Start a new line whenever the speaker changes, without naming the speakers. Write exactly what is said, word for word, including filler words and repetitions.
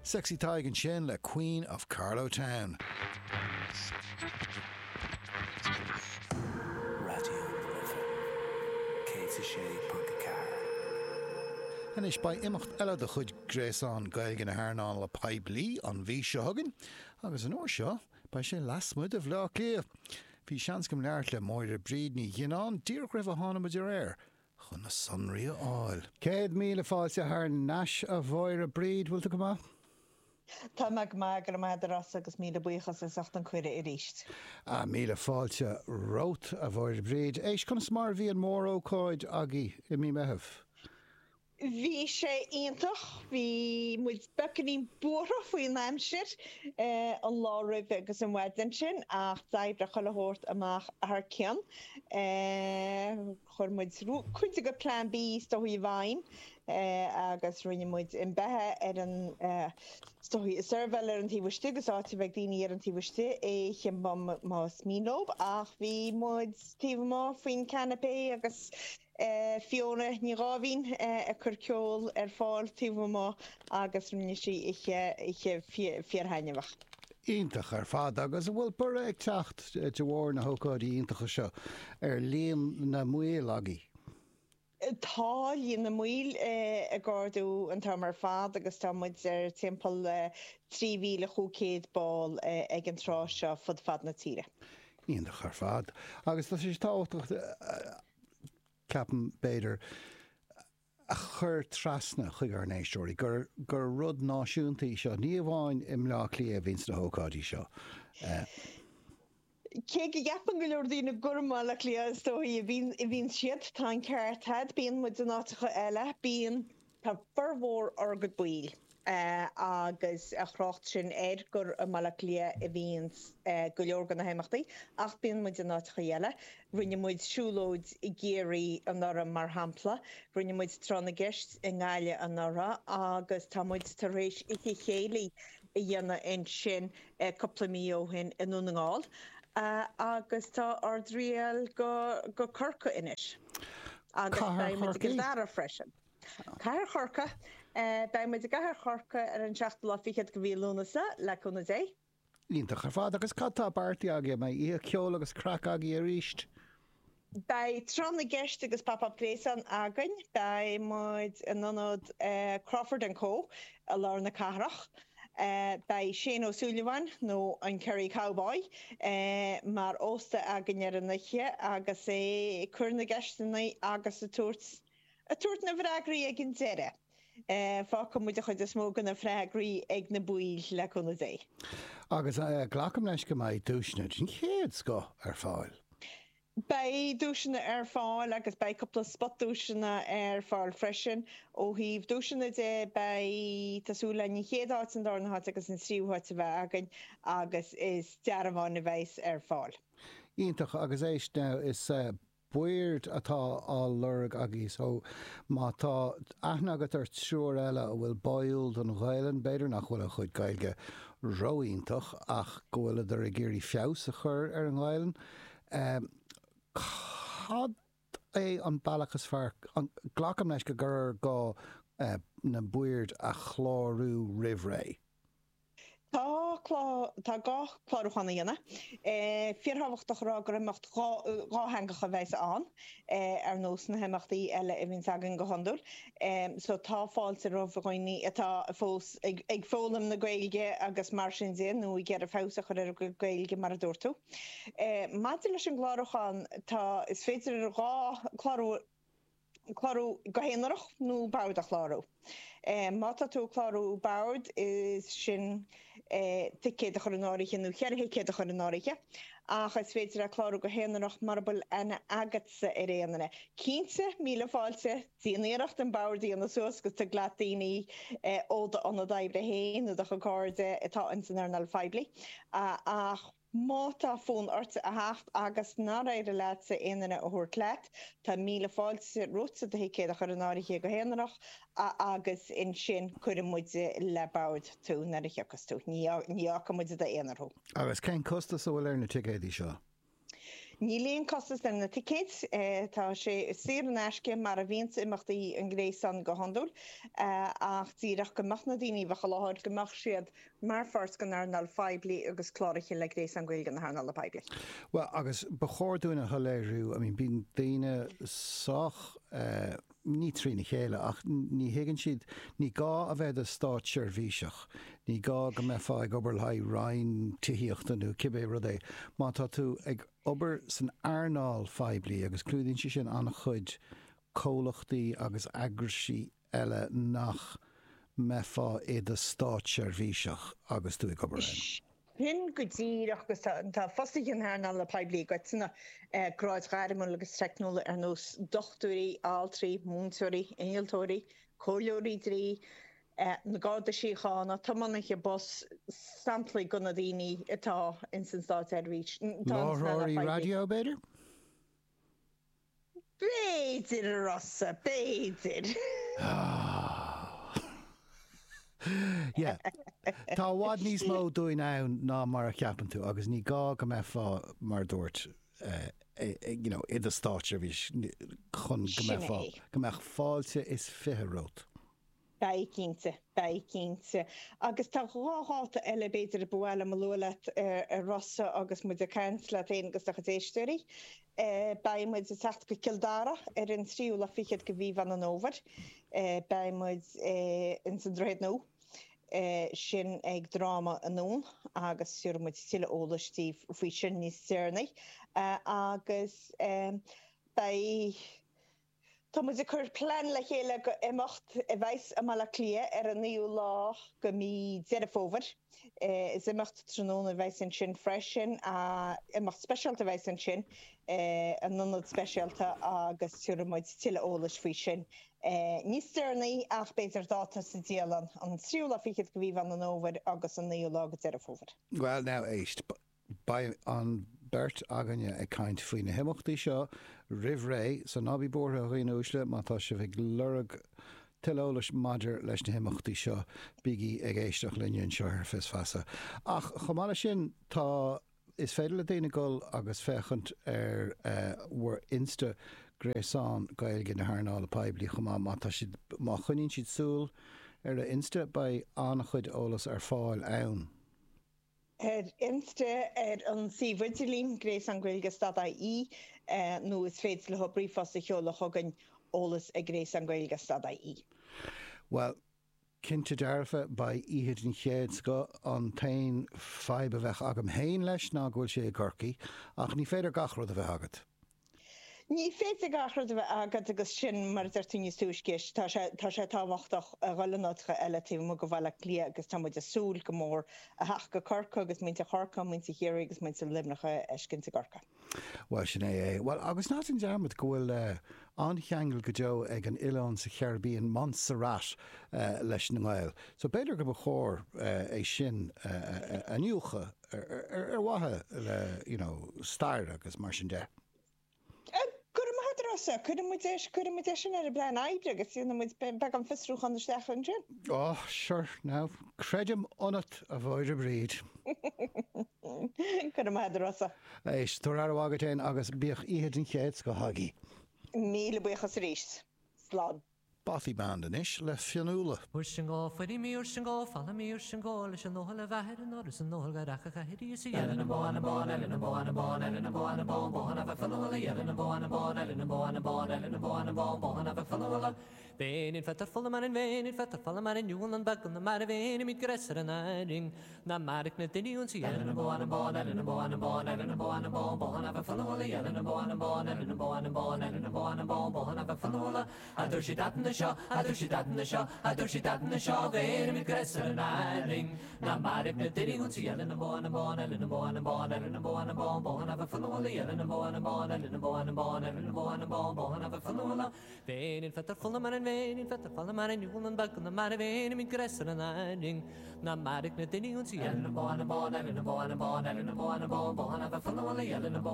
Sexy Tadhg ansin le Queen of Carlow Town.
Raidió na Life céad a sé ponc a ceathair.
Anois beidh imeacht eile de chuid Gréasán Gaeilge na hEarnála Poiblí an mhí seo chugainn agus an uair seo beidh sé lasmuigh de Bhaile Átha Cliath. Bhí seans agam labhairt le Máire Bríd Ní Ghionnáin díreach roimh a tháinig muid ar aer chun na sonraí a fháil. Céad míle fáilte thar n-ais a Mháire Bríd, bhfuil tú go maith?
Tá mé go maith, go raibh maith agat a Rossa agus míle buíochas as ucht an cuireadh arís.
Ah, míle fáilte romhat a Mháire Bríd. Éist, conas mar a bhí an mórócáid agaibh i mí Meitheamh?
Bhí sé iontach. Bhí muid beagáinín buartha faoin aimsir an lá roimhe agus an mhaidin sin ach d'oibrigh chuile shórt amach thar cionn. Chuir muid cuid de Plan B is dóigh i bhfeidhm agus rinne muid an beatha ar an is dóigh seirbheáil ar an taobh istigh agus áit a bheidh daoine ar an taobh istigh oíche más mian leo ach bhí muid taobh amuigh faoin canopy agus Fiona Ní Dháimhín ag cur ceol ar fáil taobh amuigh agus rinne sí oíche oíche fíorthaitneamhach.
Iontach ar fad agus an bhfuil borradh ag teacht de bharr na hócáidí iontacha seo ar líon na mbaill agaibh?
Tá líon na mbaill ag ardú an t-am ar fad agus tá muid ar timpeall trí mhíle chúig chéad ball ag an tráth seo fud fad na tíre.
Iontach ar fad agus tá sé tábhachtach ceapaim, b'fhéidir, a chur trasna chuig ár n-éisteoirí gur gur rud náisiúnta í seo, ní amháin i mBleá Cliath a bhíonns na hócáidí seo.
Cé go gceapann go leor daoine gur i mBaile Átha Cliath is dóichí a bhíonn a bhíonn siad, tá an ceart agat, bíonn muid in áiteacha eile, bíonn, tá formhór ár gcuid baill agus a thrácht sin air gur i mBaile Átha Cliath a bhíonn go leor de na himeachtaí ach bíonn muid in áiteacha eile. Rinne muid siúlóid i gCiarraí anuraidh mar shampla, rinne muid Tráth na gCeist i nGaillimh anuraidh agus tá muid tar éis oíche chéilí a dhéanamh ansin cúpla mí ó shin i nDún na nGall agus tá ár dtriall go Corcaigh anois agus
Cathair
beidh muid i
Chorcaí?
gCill Dara freisin. Cathair Chorcaí. Beidh muid i gCathair Chorcaí ar an seachtú lá fichead de mhí Lúnasa, le cúnamh Dé.
Iontach ar fad. Agus cad tá beartaithe agaibh? An mbeidh oíche ceoil agus craic agaibh arís?
Beidh Tráth na gCeist agus Pop Up Gréasán againn. Beidh muid in ionad Crawford and Co i lár na cathrach. Beidh Shane Ó Súilleabháin, nó an Kerry Cowboy, mar ósta againn ar an oíche agus é ag cur na gceisteanna agus ag tabhairt Ag tabhairt na bhfreagraí ag an deireadh. Fágfaidh muid an chuid is mó de na freagraí ag na baill, le cúnamh Dé.
Agus glacaim leis go mbeidh duaiseanna den chéad scoth ar fáil.
Beidh duaiseanna ar fáil agus beidh cúpla spotduaiseanna ar fáil freisin. Ó thaobh duaiseanna de, beidh, tá súil againn an chéad háit, an darna háit agus an tríú háit a bheith againn agus is dearbháin a bheas ar fáil.
Iontach, agus éist now, is boird atá á lorg agaibh so má tá aithne agat ar triúr eile a bhfuil báúil don Ghaelainn, b'fhéidir nach bhfuil a chuid Gaeilge ró-iontach ach go bhfuileadar ag iarraidh feabhas a chur ar an nGaelainn, cad é an bealach is fearr, glacaim leis go gur gá na boird a chlárú roimh ré?
Tá tá gá clárúchán a dhéanamh. Fíorthábhachtach a rá gur imeacht dhátheangach a bheas ann, ar nós na himeachtaí eile a bhíonns againn go hiondúil. So tá fáilte roimh dhaoine atá fós ag foghlaim na Gaeilge agus mar sin de, nó ag iarraidh feabhas a chur ar a gcuid Gaeilge mar a dúirt tú. Maidir leis an gclárúchán, tá, is féidir dhá clárú, clárú go haonarach nó bord a chlárú. Má tá tú ag clárú bord, is sin ticéad a chur in áirithe nó ceithre thicéad a chur in áirithe, ach is féidir le clárú go haonarach mura bhfuil aithne agatsa ar aon duine. Cinnte, míle fáilte, déan iarracht an bord a dhéanamh suas agus tig leat daoine ó d'ionad oibre féin nó do chuid cairde atá ins an earnáil phoiblí, ach. Má tá fonn ort a theacht agus nár éirigh leatsa aon duine a thabhairt leat, tá míle fáilte romhatsa do thicéad a chur in áirithe go haonarach agus ansin cuirfidh muid le bord tú nuair a thiocfas tú. Ní fhágfaidh muid i d'aonar thú.
Agus cén costas a bhfuil ar na ticéadaí seo?
Níl aon costas ar na ticéid, tá sé saor in aisce mar a bhíonns imeachtaí an Ghréasáin go hiondúil, ach díreach go mbeadh na daoine a bheadh i láthair, go mbeadh siad mar pháirt den earnáil phoiblí agus cláraithe le Gréasán Gaeilge na hEarnála Poiblí.
Bhuel, agus ba chóir dúinn a shoiléiriú, I mean, bíonn daoine sách, ní trína chéile, ach ní thuigeann siad, ní gá a bheith i do státseirbhíseach, ní gá go mbeifeá ag obair le haghaidh Roinn Tithíochta nó cibé rud é, má tá tú ag obair san earnáil phoiblí, agus clúdaíonn sé sin an-chuid comhlachtaí agus eagraisí eile nach mbeifeá i do státseirbhíseach agus tú ag obair ann.
Sin go díreach agus tá fostaithe na hearnála poiblí i gcoitinne, gráid ghairmiúla agus teicniúla ar nós dochtúirí, altraí, múinteoirí, innealtóirí, comhairleoirí dlí, na Garda Síochána, tiománaithe bus, samplaí de na daoine atá ins an státseirbhís.
Láithreoirí raidió, b'fhéidir?
B'fhéidir, a Rossa, b'fhéidir.
Yeah. Tá i bhfad níos mó dúinn ann ná mar a cheapann tú agus ní gá go mbeifeá, mar a dúirt, you know, i do státseirbhís chun go mbeifeá, go mbeadh fáilte is fiche romhat.
Beidh cinnte, beidh cinnte. Agus tá dhá dháta eile b'fhéidir a ba mhaith liom a lua leat, a Rossa, agus muid ag caint leat féin agus do chuid éisteoirí. Beidh muid ag teacht go Cill Dara ar an tríú lá fichead de mhí Mheán an Fhómhair. Beidh muid ins an Droichead Nua, sin ag Dráma i nDún, agus tabharfaidh muid tuilleadh eolais daoibh faoi sin níos deireanaí. Agus beidh. Tá muid ag cur plean le chéile go imeacht a bheas i mBaile Átha Cliath ar an naoú lá go mí Deireadh Fómhair. Is imeacht tráthnóna a bheas ansin freisin. Imeacht speisialta a bheas ansin in ionad speisialta agus tabharfaidh muid tuilleadh eolais faoi sin níos deireanaí ach b'fhéidir dáta sa dialann, an tríú lá fichead go mhí Mheán an Fhómhair agus an naoú lá go Deireadh Fómhair.
Bhuel now éist, Beidh an bheirt againne ag caint faoi na himeachtaí seo roimh ré, so ná bí buartha a dhaoine uaisle, má tá sibh ag lorg tuilleadh eolais maidir leis na himeachtaí seo, bígí ag éisteacht linne anseo ar Fios Feasa. Ach chomh maith leis sin, tá, is féidir le daoine dul agus féachaint ar bhur Insta Gréasán Gaeilge na hEarnála Poiblí chomh maith, má tá siad, má choinníonn siad súil ar a Insta, beidh an-chuid eolas ar fáil ann.
ar Insta, ar an suíomh idirlín, Gréasán Gaeilge stad IE, nó is féidir leo ríomhphost a sheoladh chugainn, eolas ag Gréasán Gaeilge stad IE.
Bhuel, cinnte dearfa, beidh oíche den chéad scoth. An t-aon fadhb a bheadh agam féin leis ná go bhfuil sé i gCorcaigh, ach ní féidir gach rud a bheith agat.
Ní féidir gach rud a bheith agat agus sin mar a deir tú níos túisce, tá sé, tá sé tábhachtach a dhul in áiteacha eile taobh amuigh de Bhaile Átha Cliath agus tá muid ag súil go mór a theacht go Corcaigh agus muintir Chorcaí, muintir Chiarraí agus muintir Luimneach a fheiscint i gCorcaigh.
Bhuel, sin é é. Bhuel, agus ná déan dearmad go bhfuil an-cheangal go deo ag an oileán sa Chairibbean, Montserrat, leis na nGaeil. So b'fhéidir go ba chóir é sin a iniúchadh ar mhaithe le, you know, stair agus mar sin de.
Go raibh maith agat, a Rossa. Cuirfidh muid é, cuirfidh muid é sin ar an bplean oibre agus déanfaidh muid beagán fiosrúchán isteach ansin.
Oh, sure, now, creidim ionat, a Mháire Bríd.
Go raibh maith agat, a Rossa.
Éist, tabhair aire mhaith duit féin agus bíodh oíche den chéad scoth agaibh.
Míle buíochas arís. Slán.
Bothy Band anois le Fionnuala.